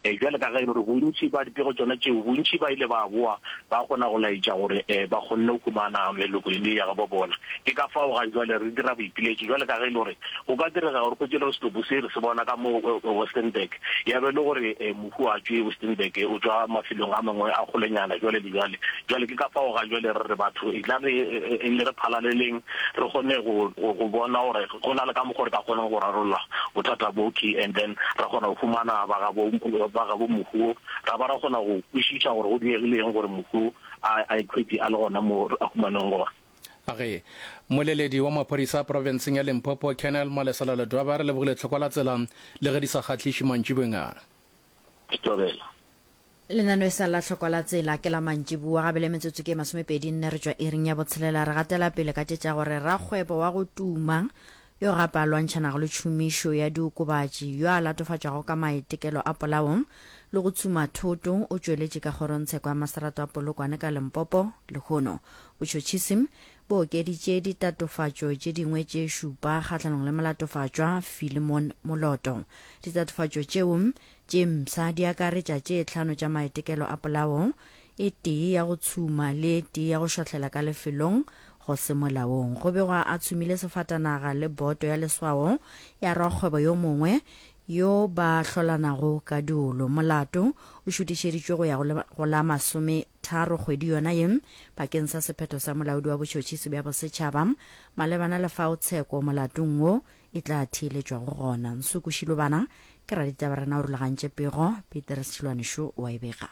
Bjale ka ge e le gore bontši ba dipego tšona tšeo, bontši ba ile ba boa ba kgona go laetša gore ba kgonne go humana meloko e le ya gabo bona. Ke ka fao ga jwale re dira boipiletšo bjale ka ge e le gore go ka direga gore hwetše le gore setopo se re se bona ka mo Westenburg, ya be e le gore mohu ga tšwe Westenburg, o tšwa mafelong a mangwe a kgolenyana jwale le jwale. Jwale ke ka fao ga jwale re re batho etla re le re phalaleleng re kgone go go bona gore go na le ka mokgo re ka kgonang go rarolla bothata bo ke and then ra kgona go humana ba gabo ba gabo mohu wo, ra ba ra kgona go kwešiša gore go diegile eng gore mohu a a ikhwetše a le gona mo a humanweng gona. A ge Mmoleledi wa maphodisa profenseng ya Limpopo, Colonel Malesela Ledwaba, re lebogile tlhoko la tsela le ge di sa kgahliše mantšiboeng a. Thobela. Lenaneo e sa la hlokwa la tsela ke la mantšiboa ga bele metsotso ke 24 re tšwa iring ya botshelela re gatela pele ka tše tša gore rakgwebo wa go tuma yo gape a lwantšhanago le tšhomišo ya diokobatši yo a latofatšwago ka maitekelo a polao le go tshuma thoto o tšweletše ka kgorongtsheko ya maserato a Polokwane ka Limpopo lehono. Botšhotšhisi bo okeditše ditatofatšo tše dingwe tše šupa kgahlanong le molatofatšwa Philemon Moloto. Ditatofatšo tšeo Tše mpsha di akaretša tše tlhano tša maitekelo a polao, e tee ya go tshuma le e tee ya go šwahlela ka lefelong go se molaong. Go begwa a tshumile sefatanaga le boto ya leswao ya rakgwebo yo mongwe yo ba hlolanago ka diolo. Molato o šutišeditšwe go ya go la masometharo kgwedi yona ye bakeng sa sephetho sa molaodi wa botšhotšhisi bja bosetšhaba malebana le fao tsheko molatong wo e tla theeletšwago gona. Nsuku Shilobana ke raditaba rena o rulagantše pego, Petrus Tšhilwane šo o a e bega.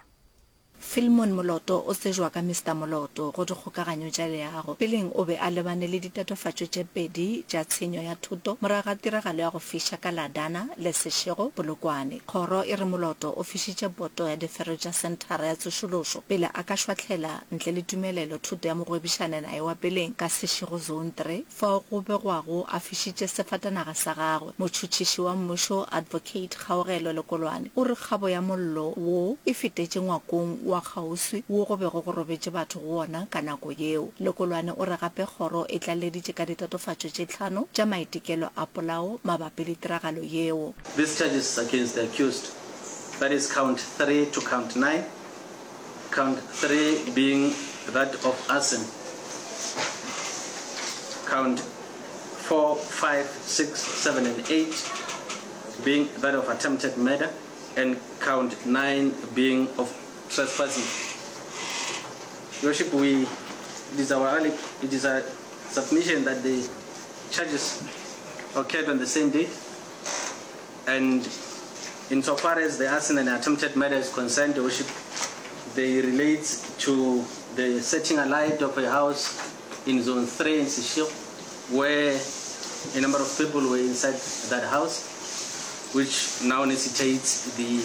Philemon Moloto o tsejwa ka Mister Moloto go dikgokaganyo tša leago. Peleng o be a lebane le ditatofatšo tše pedi tša tshenyo ya thoto morago ga tiragalo ya go fiša ka Ladana le Seshego, Polokwane. Kgoro e re Moloto o fišitše boto ya difero tša senthara ya tsošološo pele a ka šwahlela ntle le tumelelo thoto ya mogwebišanenaye wa peleng ka Seshego Zone 3. Fao go begwago a fišitše sefatanaga sa gagwe. Motšhotšhiši wa mmušo, Advocate Kgaogelo Lekolwane, o re kgabo ya mollo wo e fetetše ngwakong wa kgauswi wo go bego go robetše batho go wona ka nako yeo. Lekolwane o re gape kgoro e tlaleleditše ka ditatofatšo tše tlhano tša maitekelo a polao mabapi le tiragalo yeo. These charges against the accused, that is count 3 to count 9, Count 3 being that of arson, count 4, 5, 6, 7 and 8 being that of attempted murder and count 9 being of trespassing. Your Worship, we, it is our, it is our submission that the charges occurred on the same date and insofar as the arson and attempted murder is concerned, Your Worship, they relate to the setting alight of a house in Zone 3 in Seshego, where a number of people were inside that house, which now necessitates the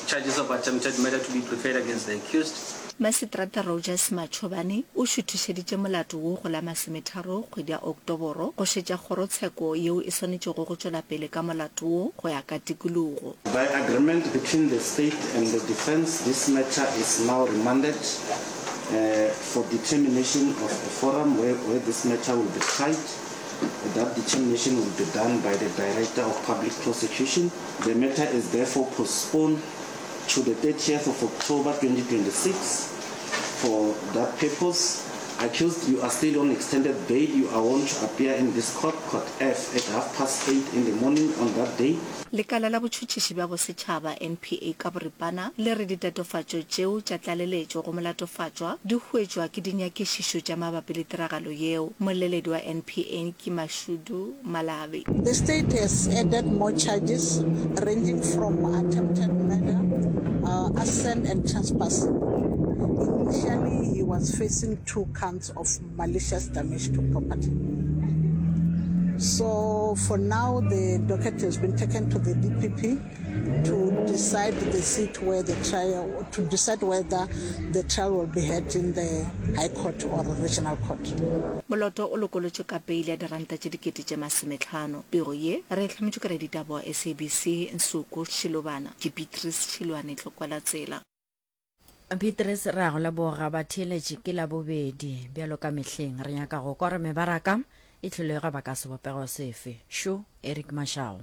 charges of attempted murder to be preferred against the accused. Maseterata Rogers Machobane o šuthišeditše molato wo go la masometharo kgwedi ya Oktoboro go šetša kgorotsheko yeo e swanetšego go tšwela pele ka molato wo go ya ka tikologo. By agreement between the state and the defence this matter is now remanded for determination of a forum where, where this matter will be tried. That determination will be done by the Director of Public Prosecution. The matter is therefore postponed to the 30th of October 2026 for that purpose. Accused, you are still on extended bail. You are warned to appear in this court, Court F, at half past eight in the morning on that day. Lekala la Botšhotšhiši bja Bosetšhaba, NPA, ka boripana le re ditatofatšo tšeo tša tlaleletšo go molatofatšwa di huetšwa ke dinyakišišo tša mabapi le tiragalo yeo. Mmoleledi wa NPA ke Mashudu Malabi. The state has added more charges ranging from attempted murder, arson and trespassing. Initially, he was facing two counts of malicious damage to property. So for now, the docket has been taken to the DPP to decide the seat where the trial, to decide whether the trial will be heard in the High Court or Regional Court. Moloto o lokolotšwe ka peile ya diranta tše dikete tše masometlhano. Pego ye re e hlametšwe ke raditaba wa SABC Nsuku Shilobana. Ke Beatrice Tšhilwane Tlokwalatsela. Beatrice, re a go leboga. Batheeletši, ke Labobedi. Bjalo ka mehleng, re nyaka go kwa gore mebaraka e hlolego ba ka sebopego sefe. Šo Eric Mashau.